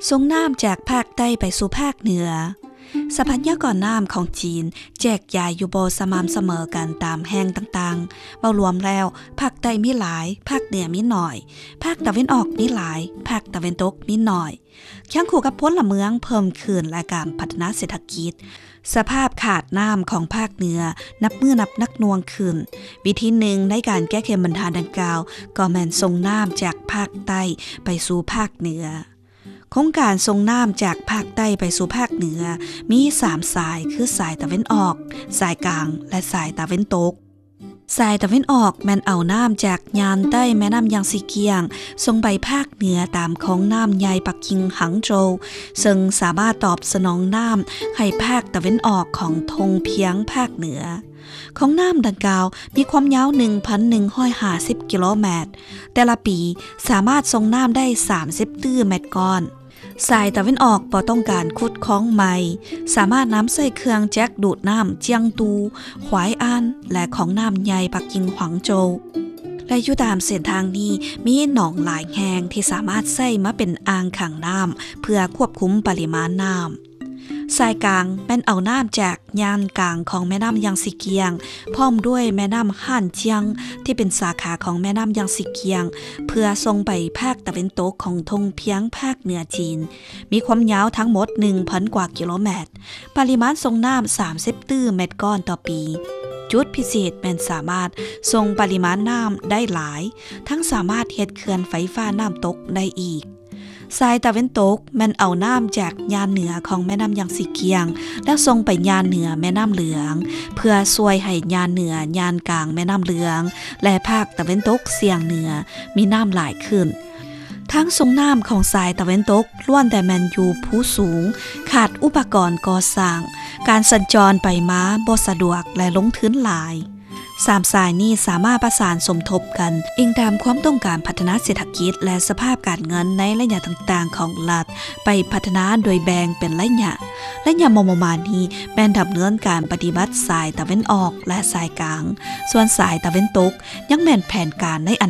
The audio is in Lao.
ສົ່ງນ້ຳຈາກພາກໃຕ້ໄປສູ່ພາກເໜືອ. ຊັບພະຍາກອນນ້ຳຂອງຈີນແຈກຢາຍຢູ່ບໍ່ສະໝ່ຳສະເໝີກັນຕາມແຫ່ງຕ່າງໆ. ເວົ້າລວມແລ້ວ, ພາກໃຕ້ມີຫຼາຍ, ພາກເໜືອມີໜ້ອຍ, ພາກຕາເວັນອອກມີຫຼາຍ, ພາກຕາເວັນຕົກມີໜ້ອຍ. ຄຽງຄູ່ກັບພົນລະເມືອງເພີ່ມຂຶ້ນ ແລະ ການພັດທະນາເສດຖະກິດ, ສະພາບຂາດນ້ຳຂອງພາກເໜືອນັບມື້ນັບໜັກໜ່ວງຂຶ້ນ. ວິທີໜຶ່ງໃນການແກ້ໄຂບັນຫາດັ່ງກ່າວ ກໍແມ່ນສົ່ງນ້ຳຈາກພາກໃຕ້ໄປສູ່ພາກເໜືອ. ໂຄງການສົ່ງນ້ຳຈາກພາກໃຕ້ໄປສູ່ພາກເໜືອມີສາມສາຍ ຄື ສາຍຕາເວັນອອກ, ສາຍກາງ ແລະ ສາຍຕາເວັນຕົກ. ສາຍຕາເວັນອອກແມ່ນເອົານ້ຳຈາກຍານໃຕ້ແມ່ນ້ຳຢາງຊີກຽງ ສົ່ງໄປພາກເໜືອຕາມຂອງນ້ຳໃຫຍ່ປັກກິ່ງ ຫາງໂຈວ ເຊິ່ງສາມາດຕອບສະໜອງນ້ຳໃຫ້ພາກຕາເວັນອອກຂອງທົ່ງພຽງພາກເໜືອ. ຂອງນ້ຳດັ່ງກ່າວມີຄວາມຍາວໜຶ່ງພັນໜຶ່ງຮ້ອຍຫ້າສິບກິໂລແມັດ, ແຕ່ລະປີສາມາດສົ່ງນ້ຳໄດ້ສາມສິບຕື້ແມັດກ້ອນ. ສາຍຕາເວັນອອກບໍ່ຕ້ອງການຂຸດຄອງໃໝ່, ສາມາດນຳໃຊ້ເຄື່ອງຈັກດູດນ້ຳຈຽງຕູ, ຫວາຍອານ ແລະ ຂອງນ້ຳໃຫຍ່ປັກກິ່ງ ຫວາງໂຈວ ແລະ ຢູ່ຕາມເສັ້ນທາງນີ້ມີໜອງຫຼາຍແຫ່ງທີ່ສາມາດໃຊ້ມາເປັນອ່າງຂັງນ້ຳ ເພື່ອຄວບຄຸມປະລິມານນ້ຳ. ສາຍກາງແມ່ນເອົານ້ຳຈາກຍານກາງຂອງແມ່ນ້ຳຢາງຊີກຽງ ພ້ອມດ້ວຍແມ່ນ້ຳຮ່ານຈຽງ ທີ່ເປັນສາຂາຂອງແມ່ນ້ຳຢາງຊີກຽງ ເພື່ອສົ່ງໄປພາກຕາເວັນຕົກຂອງທົ່ງພຽງພາກເໜືອຈີນ, ມີຄວາມຍາວທັງໝົດໜຶ່ງພັນກວ່າກິໂລແມັດ, ປະລິມານສົ່ງນ້ຳສາມສິບຕື້ແມັດກ້ອນຕໍ່ປີ. ຈຸດພິເສດແມ່ນສາມາດສົ່ງປະລິມານນ້ຳໄດ້ຫຼາຍ, ທັງສາມາດເຮັດເຂື່ອນໄຟຟ້ານ້ຳຕົກໄດ້ອີກ. ສາຍຕາເວັນຕົກແມ່ນເອົານ້ຳຈາກຍານເໜືອຂອງແມ່ນ້ຳຢາງຊີກຽງ ແລ້ວສົ່ງໄປຍານເໜືອແມ່ນ້ຳເຫຼືອງ ເພື່ອຊ່ວຍໃຫ້ຍານເໜືອຍານກາງແມ່ນ້ຳເຫຼືອງ ແລະ ພາກຕາເວັນຕົກສ່ຽງເໜືອມີນ້ຳຫຼາຍຂຶ້ນ. ທາງສົ່ງນ້ຳຂອງສາຍຕາເວັນຕົກລ້ວນແຕ່ແມ່ນຢູ່ພູສູງ, ຂາດອຸປະກອນກໍ່ສ້າງ, ການສັນຈອນໄປມາບໍ່ສະດວກ ແລະ ລົງທຶນຫຼາຍ. ສາມສາຍນີ້ສາມາດປະສານສົມທົບກັນ, ອີງຕາມຄວາມຕ້ອງການພັດທະນາເສດຖະກິດ ແລະ ສະພາບການເງິນໃນໄລຍະຕ່າງໆຂອງລັດ ໄປພັດທະນາໂດຍແບ່ງເປັນໄລຍະ. ໄລຍະມໍ່ໆມານີ້ແມ່ນດຳເນີນການປະຕິບັດສາຍຕາເວັນອອກ ແລະ ສາຍກາງ, ສ່ວນສາຍຕາເວັນຕົກຍັງແມ່ນແຜນການໃນອະນາ